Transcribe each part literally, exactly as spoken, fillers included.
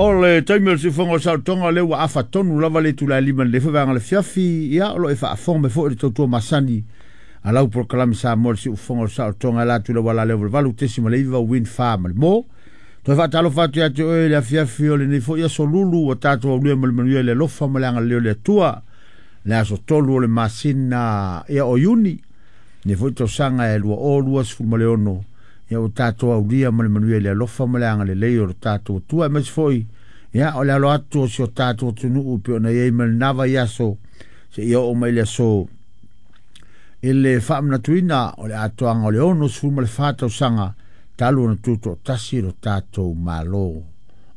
O le taimi o le siufofoga o le saolotoga lea ua afa tonu lava le itula e lima i le vaega o le fiafi. Ia o lo o e faafofoga mai foi i le tautua masani a lau polokalame Samoa le siufofoga o le saolotoga e la atu i le auala lea o le valu tesima le iva Wind Farm ma le mo. Toe faatalofa atu ia te oe i le afiafi o lenei foi aso lulu ua tatou aulia ma le manuia i le alofa ma le agalelei o le Atua. Le aso tolu o le masina ia o Iuni, lenei foi tausaga e lua o lua sefulu ma le ono, ia ua tatou aulia ma le manuia i le alofa ma le agalelei o le tatou Atua. Aemaise foi ia o le alo atu o si o tatou atunuu e pei ona i ai ma lena vaiaso seia oo mai le aso i le faamanatuina o le atoaga o le ono sefulu ma le fa tausaga talu ona tutoatasi lo tatou Malo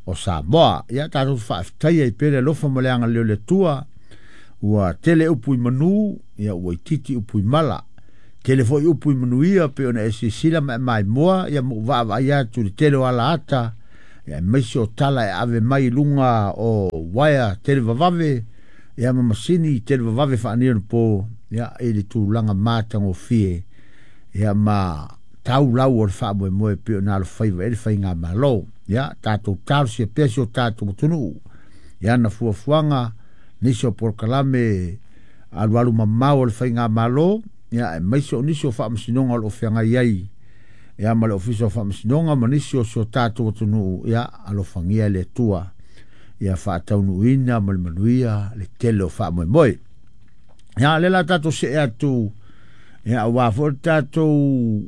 o Samoa. Ia tatou faafetaia i pea le alofa ma le agalelei o le Atua. Ua tele upu i manu, ia ua itiiti upu i mala. Tele foi upu i manuia pe ona e silasila ma e maimoa, ia ma ou vaavaai atu i le tele o alaata, ia aemaise o tala e ave mai i luga o uaea televavave, ia ma masini televavave faaneionapo, ia i le tulaga matagofie, ia ma taulau o le faamoemoe pei ona alofaiva i ai le faigamalo. Ia tatou talosia pea si o tatou atunuu i ana fuafuaga, nisi o polokalame alualu mamao o le faigamalo, ia aemaise o nisi o faamasinoga o lo o feagai ai, ia ma le Ofisa o Faamasinoga ma nisi o si o tatou atunuu. Ia alofagia e le Atua ia faataunuuina ma le manuia le tele o faamoemoe. Ia lea la tatou see atu, ia aua foi le tatou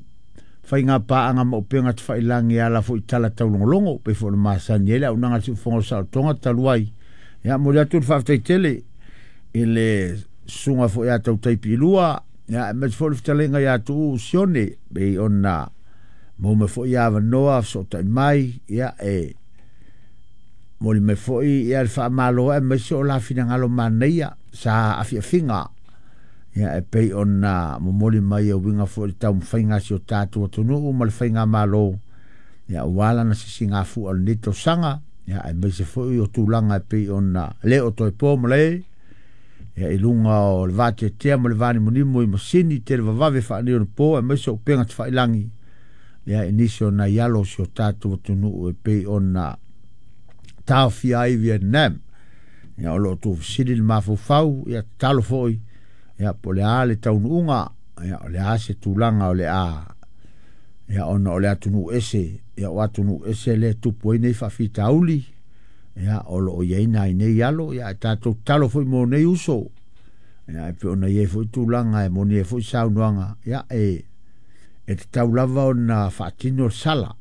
faiga paaga ma upega tafailagi e ala foi i tala taulogologo pei foi ona masani ai le auaunaga a le siufofoga o le saolotoga talu ai. Ia momoli atu le faafetai tele i le susuga foi ia Tautai Piilua, ia aemaise foi le fetalaiga ia Tuuu Sione pei ona maua mai foi avanoa fesootai mai, ia e momoli mai foi ia le faamalo aemaise o la finagalo manaia sa afiafiga, ia e pei ona momoli mai e uiga foi i le taumafaiga a si o tatou atunuu ma le faigamalo, ia aua lana sisigafua o lenei tausaga, ia aemaise foi o tulaga e pei ona le o toe po ma le ia i luga o le vateatea ma le vanimonimo i masini televavave faaneionapo aemaise o upega tafailagi, ia i nisi o nai alo o si o tatou atunuu e pei ona taofia ai Vietnam. Ia o lo o tuufesili le mafaufau, ia tatalo foi, ia po o le a le taunuuga, ia o le a se tulaga o le a, ia ona o le atunuu ese, ia o atunuu ese lea e tupu ai nei faafitauli, ia o lo o i ai nai nei alo, ia ae tatou tatalo foi mo nei uso, ia e pei ona i ai foi tulaga e moni ai foi saunoaga, ia e e tatau lava ona faatino le sala,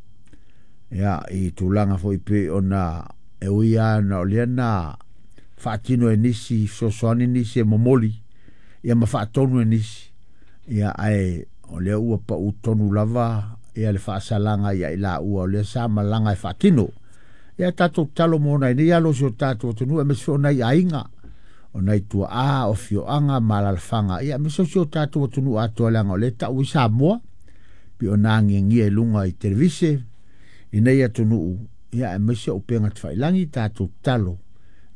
ia i tulaga foi pei ona e ui lava ona o lea na faatino e nisi fesoasoani nisi e momoli, ia ma faatonu e nisi, ia ae o lea ua pau tonu lava ia le faasalaga ia i laua o lea sa malaga e faatino. Ia tatou tatalo mo nai nei alo o si o tatou atunuu aemaise foi o nai aiga, o nai tuaa, o afioaga ma alaalafaga, ia aemaise o si o tatou atunuu atoa leaga o lea e tau ai Samoa pei ona agiagia i luga i televise i nei atunuu, ia aemaise o upega tafailagi. Tatou tatalo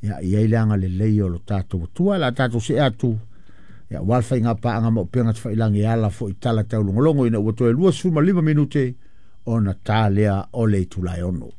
ia i ai le agalelei o lo tatou Atua. La tatou see atu ia aua le faiga paaga ma upega tafailagi e ala foi i tala taulogologo ina ua toe luasefulu ma lima minute ona ta lea o le itula e ono.